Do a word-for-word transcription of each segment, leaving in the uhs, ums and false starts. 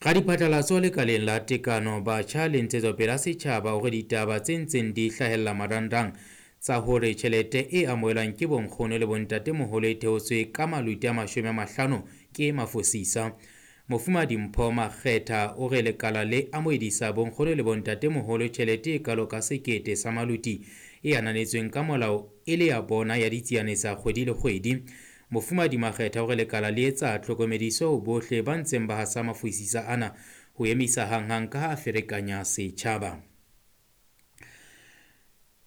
Radiphatlalatso lekaleng la tekano batjha le ntshetsopele ya setjhaba hore ditaba tse ntseng di hlahella marangrang tsa hore tjhelete e amohelwang ke bonkgono le bontatemoholo e theotswe ka maluti a mashome a mahlano ke mafosisa. Mofumahadi Mpho Makgetha o re lekala le amohedisa bonkgono le bontatemoholo tjhelete e kalo ka sekete sa maluti e ananetsweng ka molao e le ya bona ya ditsiane tsa kgwedi le kgwedi. Mofumahadi Makgetha o re lekala le etsa tlhokomediso ho bohle ba ntseng ba hasa mafosisa ana ho emisa hanghang ka ha a ferekanya setjhaba.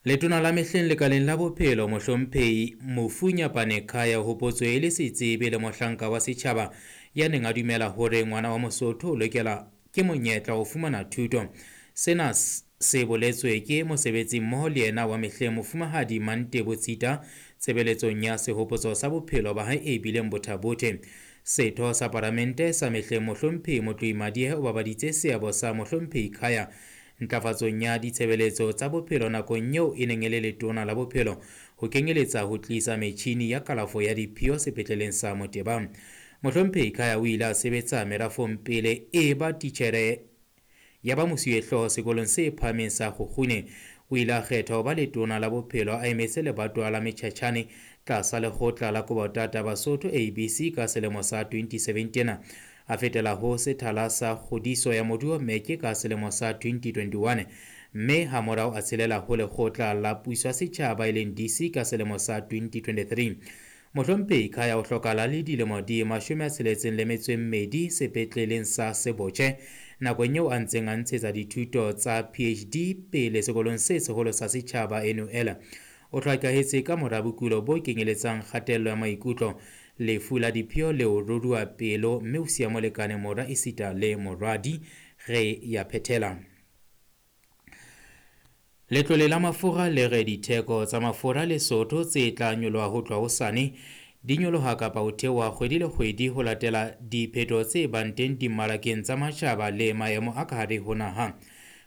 Letona la mehleng lekaleng la bophelo mohlomphehi Mofu Nyapane Khaya o hopotswe e le setsebi le mohlanka wa setjhaba ya neng a dumela hore ngwana wa Mosotho o lokela ke monyetla ho fumana thuto. Sena se boletswe ke mosebetsi mmoho le yena wa mehleng mofumahadi Mantebo Tshita tshebeletsong ya sehopotso sa bophelo ba hae e bileng Botha-Bothe. Setho sa palamente sa mehleng mohlomphehi Motlohi Madihe o babaditse seabo sa mohlomphehi Khaya ntlafatsong ya ditshebeletso tsa bophelo nakong eo e neng e le letona la bophelo ho kenyeletsa ho tlisa metjhini ya kalafo ya diphio sepetleleng sa Moteba. Mohlomphehi Khaya o ile a sebetsa merafong pele e ba titjhere ya ba mosuwehlooho sekolong se phahameng sa Kgukgune. O ile a kgethwa ho ba letona la bophelo a emetse lebatowa la Mechachane tlasa lekgotla la Kobotata Basotho A B C ka selemo sa twenty seventeen. A fetela ho sethala sa kgodiso ya moruo Meke ka selemo sa twenty twenty-one, mme hamorao a tshelela ho lekgotla la puso ya setjhaba e leng D C ka selemo sa twenty twenty-three. Mohlomphehi Khaya o hlokahala le dilemo di mashome a tsheletseng le metso e mmedi sepetleleng sa Sebotjhe nakong eo a ntseng a ntshetsa dithuto tsa P H D pele sekolong se seholo sa setjhaba N U L. O hlokahetse ka mora bokulo bo kenyeletsang kgatello ya maikutlo, lefu la diphio le ho ruruha pelo, mme o siya molekane, mora esita le moradi. Re ya phethela. Letlole la mafura le re ditheko tsa mafura Lesotho tse tla nyoloha ho tloha hosane di nyoloha kapa ho theoha kgwedi le kgwedi ho latela diphetho tse bang teng dimmarakeng tsa matjhaba le maemo a ka hare ho naha.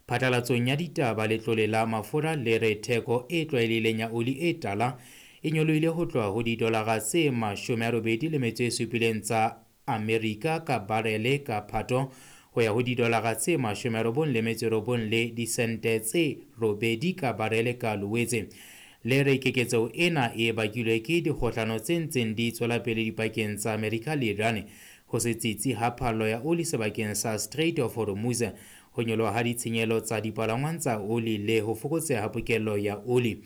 Phatlalatsong ya ditaba letlole la mafura le re theko e tlwaelehileng ya oli e tala e nyolohile ho tloha ho didolara tse mashome a robedi le metso e supileng tsa Amerika ka barele ka Phato ho ya ho didolara tse mashome a robong le metso e robong le disente tse robedi ka barele ka Loetse. Le re keketseho ena e bakilwe ke dikgohlano tse ntseng di tswela pele dipakeng tsa Amerika le Iran, ho se tsitsi ha phallo ya oli sebakeng sa Strait of Hormuz, ho nyoloha ha ditshenyehelo tsa dipalangwang tsa oli le ho fokotseha ha pokello ya oli.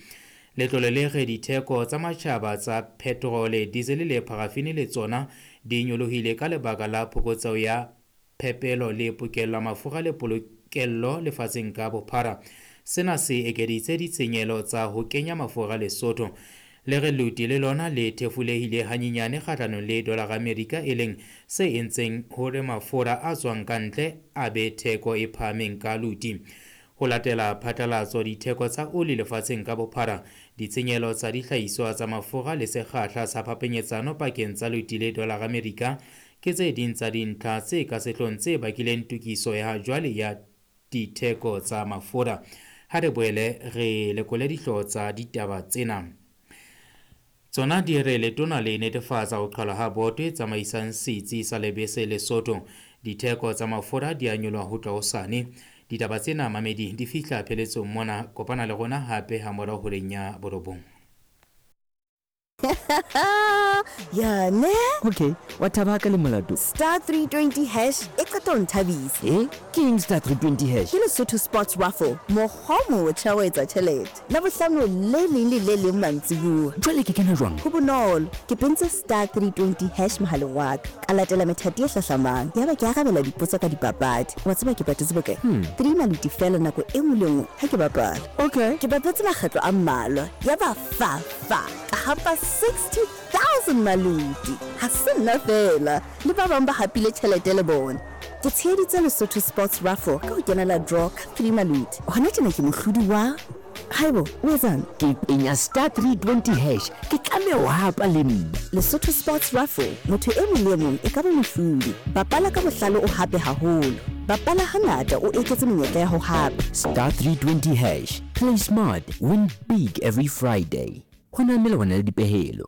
Letlole le re ditheko tsa matjhaba tsa petrole, diesel le parafini le tsona di nyolohile ka lebaka la phokotseho ya phepelo le pokello ya mafura le polokelo lefatsheng ka bophara. Sena se ekeditse ditshenyehelo tsa ho kenya mafura Lesotho. Le re luti le lona le thefulehile hanyenyane kgahlanong le dolara Amerika, e leng se entseng hore mafura a tswang ka ntle a be theko e phahameng ka luti. Ho latela phatlalatso, ditheko tsa oli lefatsheng ka bophara, ditshenyehelo tsa dihlahiswa tsa mafura le sekgahla sa phapanyetsano pakeng tsa luti le dolara Amerika ke tse ding tsa dintlha tse ka sehloohong tse bakileng tokiso ya jwale ya ditheko tsa mafura. Ha re boele re lekole dihlooho tsa ditaba tsena. Tsona di re letona le netefatsa ho qhalwa ha boto e tsamaisang setsi sa lebese Lesotho. Ditheko tsa mafura di a nyoloha ho tloha hosane. Ditaba tsena mamedi di fihla pheletsong mona. Kopana le rona hape ha morao horeng ya borobong. Ya ne? Okay, wa thaba ka le molato. Star three twenty hash e qeta ho nthabisa. Eh? Ke eng star three twenty hash? Ke Lesotho Sports Raffle, mokgwa o motjha wa etsa tjhelete. Labohlano le leng le le leng mantsibuya. Jwale ke kena jwang? Ho bonolo. Ke pentse star three twenty hash mohaleng wa ka. Ka latela methati e hlahlamang. Yaba ke arabela dipotso ka dipapadi. Wa tseba ke patetse bokae? Hmm. Three maluti fela nako e nngwe le nngwe ha ke bapala. Okay. Ke bapetse makgetlo a mmalwa. Yaba fa fa. Ka hapa sixty thousand maluti. Ha se nna fela. Le ba bang ba hapile tjhelete le bona. Ke tsheheditse Lesotho Sports Raffle ka ho kenela draw ka three maluti. Hona tjena ke mohlodi wa Haibo, o etsang? Ke penya star three twenty hash. Ke tlameha ho hapa le nna. Lesotho Sports Raffle, motho e mong le e mong e ka ba mohlodi. Bapala ka bohlale o hape haholo. Bapala hangata o eketse menyetla ya ho hapa. Star three twenty hash. Play smart, win big every Friday. Ho na melawana le dipehelo.